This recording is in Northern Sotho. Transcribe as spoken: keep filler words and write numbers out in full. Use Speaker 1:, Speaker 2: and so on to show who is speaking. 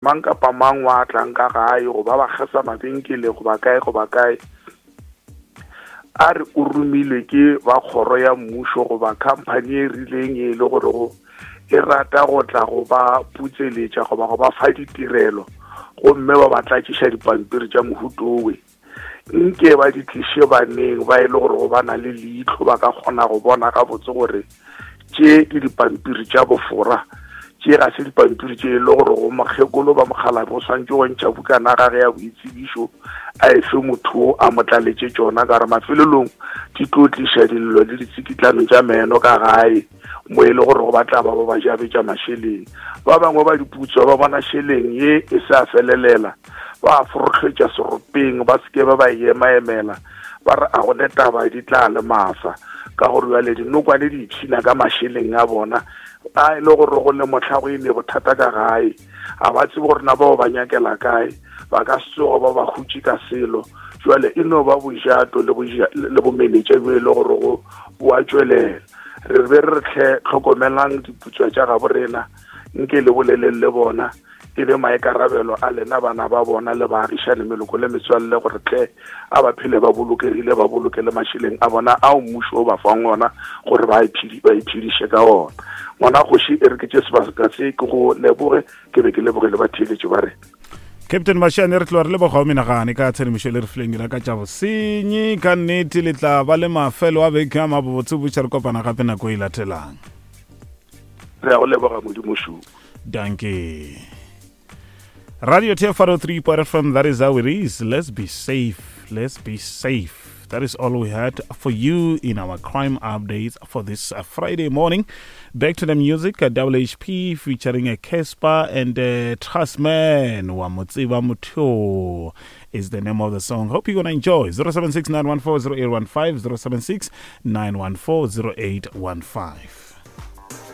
Speaker 1: Mang kapa mang wa tlang ka gae goba ba kgesa mabenkele goba kae goba kae, a re o romilwe ke ba kgoro ya mmušo goba khamphani e rileng e le gore go e rata go tla go ba putseletša goba go ba fa ditirelo, gomme ba ba tlatšiša dipampiri tša mohutowe, nke ba di tliše baneng ba e le gore go ba na le leihlo, ba ka kgona go bona gabotse gore tše ke dipampiri tša bofora, tše ga se dipampiri tše e le gore go mokgekolo ba mokgalabe o swanetše go ntšha bukana gage ya boitsebišo a efe motho a mo tlaletše tšona, ka gore mafelelong di tlo tliša dillo le ditsikitlano tša meno ka gae mo e le gore go batla ba ba ba jabetša mašeleng. Ba bangwe ba diputswa ba bona šeleng ye e sa felelela, ba forohletša seropeng, ba seke ba ba emaemela, ba re a gone taba di tla le masa, ka gore bjale dinokwane di ipshina ka mašeleng a bona a e le gore go le mohla go eme bothata ka gae, a ba tsebe gore na bao ba nyakela kae, ba ka se tsoge ba ba hutše ka selo. Jwale e no ba bojato le bomenetša bjo e le gore go boa tšwelela. Re be re tle tlhokomelang diputswa tša gabo rena, nke le boleleng le bona, e be maikarabelo a lena bana ba bona le baagišane, meloko le metswalle, gore tle a ba phele ba bolokegile, ba boloke le mašeleng a bona ao mmušo o ba fang ona gore ba iphediše ka ona. Ngwana kgoši, e re ke tše sebaka se ke go leboge, ke be ke leboge le batheeletši ba rena.
Speaker 2: Captain Mashiane, re tloga re leboga o menagane ka tshedimošo le re fileng yona ka tša bosenyi. Ka nnete le tla ba le mafelo a beke a mabotse, botša re kopana gape nako e latelang.
Speaker 1: Re a go leboga Modimo šo.
Speaker 2: Danke. Radio T F one oh three point F M, that is how it is. Let's be safe. Let's be safe. That is all we had for you in our crime updates for this uh, Friday morning. Back to the music, uh, W H P featuring a Casper and a Trustman. Wa Motseba Motho is the name of the song. Hope you're gonna enjoy. zero seven six nine one four zero eight one five, zero seven six nine one four zero eight one five.